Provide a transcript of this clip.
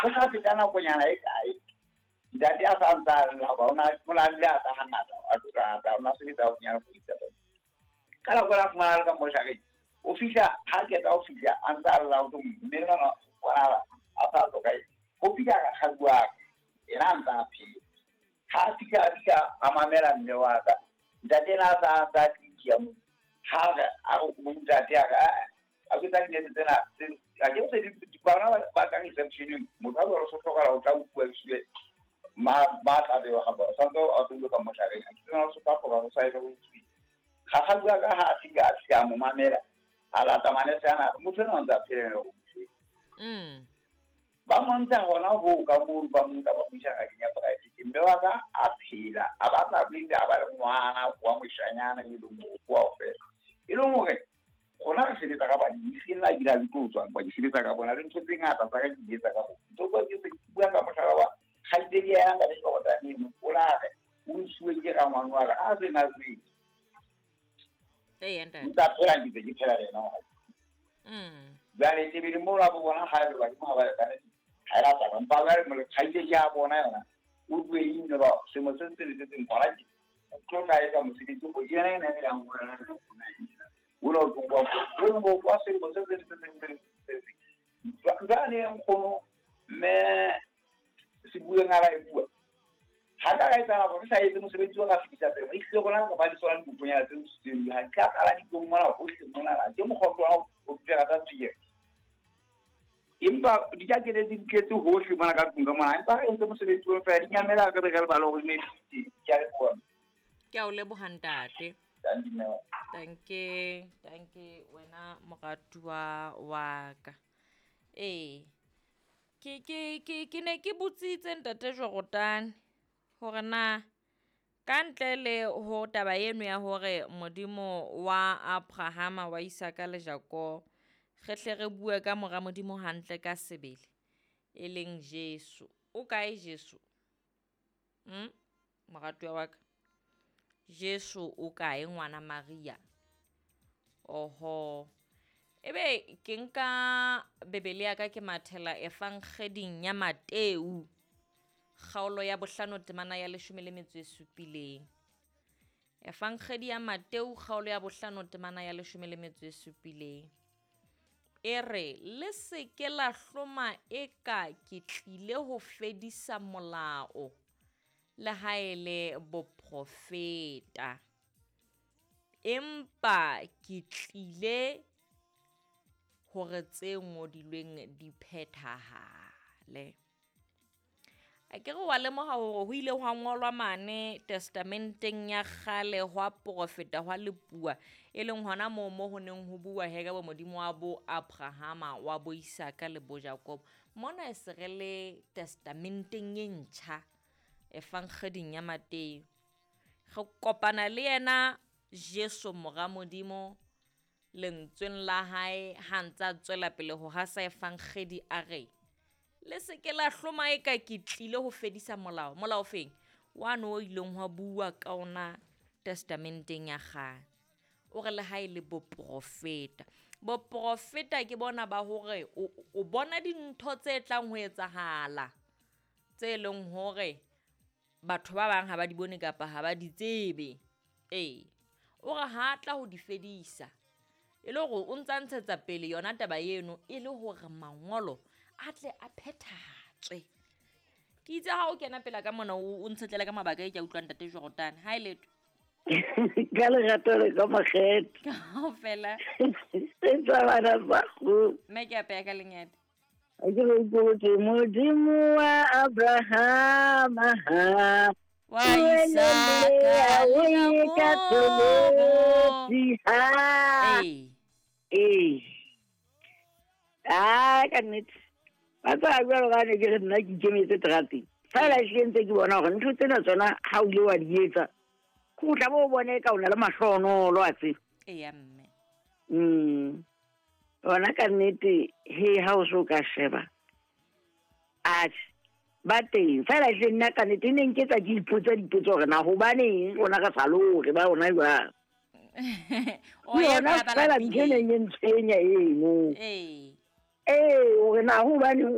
Go sa feta nakonyana e kae, ntate a sa ntse a lla hoba o na o na le a tla hangata a tloka a o na sebetsa haufinyana police department. Ka nako ena a fumana a le ka moshareng, o fihla ha qeta ho fihla a ntse a lla ho thwe mme enwa bonahala a sa hlokahetse. Ho fihla rakgadi wa ka, yena a ntse a phela. Ha a fihla a fihla a mamela mme wa ka. Ntate ena a sa a ntse a tsitsiya moo. Ha re a re ho ntate a re aa a ke tsa dinese tsena a ke se di bana ba ka reception motho a jwalo so hlokahala o tla utlwa ehlile ma ba tla bewa ga bona santse a tlo ka moshareng a ke tsena so ka hloka go sa e go tswi ga ga bua ka ha a fika a fika a mo mamela a lata manese ana motho ena o ntse a phela le go Ba mo ntsha hona hoo ka mono, ba mo nka ba mo isa ngakeng ya poraefete. Mme wa ka a phela, a ba tla pele a ba le ngwana wa moshanyana e leng hore ke wa ho fela. E leng hore rona re sebetsa ka badimo, e seng la ebile ha ke tlo tswa, empa ke sebetsa ka bona le ntho tse ngata tsa ka ke di etsa ka bona. Ntho tsa ke se ke bua ka mohlala wa kgaitsedi ya ntate Jordan eno, o la re o nsuwe ke rangwane wa ka a se na tsebe. Eya ntate. Ntse a phela ke ntse ke phela le yena hona. Jwale tebele moo la bo bona ha le badimo ha ba lekane ha e la taba. Empa jwale mole kgaitsedi ya bona yona o tlohile ba sengwe se seng le se seng hona ke o tlo tla etsa mosebetsi o yena ena e yang ho yena o la o tlo bua o bo kwa selemo se seng le se seng se seng. Jwale nkgono mme se bueng a ba e bua ha ka ka etsahala hore re sa etse mosebetsi o ka fetisa pele re hlile rona re ba le tsona dikokonyana tse tseo ha di ka qala ditlong mona hohle mona la ke mokgwa wa ho dira tsa tswekere empa di ka kele di tletse hohle mona ka tlung ka mona empa re entse mosebetsi o fela di nyamela re be re lebale hore ne di ke a leboha. Ke a o leboha ntate. Danke, danke wena moratuwa wa ka. Ee. Ke ke ke ke ne ke botsitse ntate Jordan hore na ka ntle le ho taba eno ya hore Modimo wa Abrahama wa Isaka le Jakobo re hle re bue ka mora Modimo hantle ka sebele e leng Jesu. O kae Jesu? Moratuwa wa ka. Jesu o kae ngwana Maria? Oho. Ebe ke nka Bibele ya ka ke mathela Evangeding ya Mateu kgaolo ya bohlano temana ya leshome le metso e supileng. Evangedi ya Mateu kgaolo ya bohlano temana ya leshome le metso e supileng. E re le se ke la hloma eka ke tlile ho fedisa molao le ha e le boprofeta. Empa ke tlile hore tse ngodilweng di phethahale. A ke re wa lemoha hore ho ile hwa ngolwa mane testamenteng ya kgale hwa profeta hwa lepuwa e leng hona moo mo ho neng ho bua he ka bo Modimo wa bo Abrahama wa bo Isaka le bo Jakobo. Mona e se re le testamenteng e ntjha evangeding ya Mateu. Re kopana le yena Jesu mora Modimo lentsweng la hae ha ntse a tswela pele ho hasa evangedi a re le se ke la hloma eka ke tlile ho fedisa molao. Molao feng? Wane o ileng hwa bua ka ona testamenteng ya kgale. O re le ha e le boprofeta. Boprofeta ke bona ba hore o bona dintho tse tlang ho etsahala tse leng hore batho ba bang ha ba di bone kapa ha ba di tsebe. Ee. O re ha tla ho di fedisa. E le hore o ntsa ntshetsa pele yona taba eno e le hore mangolo a tle a phethahatswe. Ke itse ha o kena pela ka mona o ntshetlele ka mabaka e ke a utlwang ntate Jordan. Ha e letho. Ka lerato le ka makgetho. Kaofela. Se tsa bana ba go. Mme ke apeya ka lengete. A ke re itse Modimo wa Abrahama ha. Wa Isaka le Jakobo. Ee. Ee. Ah, ka nnete. Ba tsaya jwalo ka ne ke re nna ke ikemetse terateng. Fela ehlile ntse ke bona hore ntho tsena tsona ha o ile wa di etsa, ke o tla bo o bone ka o na le mahlohonolo a tseba. Eya mme. Yona ka nnete he ha o so ka sheba. Atjhe, ba teng. Fela ehlile nna ka nnete ne nketsa ke ipotsa dipotso hore na hobaneng rona re sa lore ba rona jwang. O ya Yona ba fela ntho e lapileng. neng e ntshwenya eno. Ee. Ee, hore na hobaneng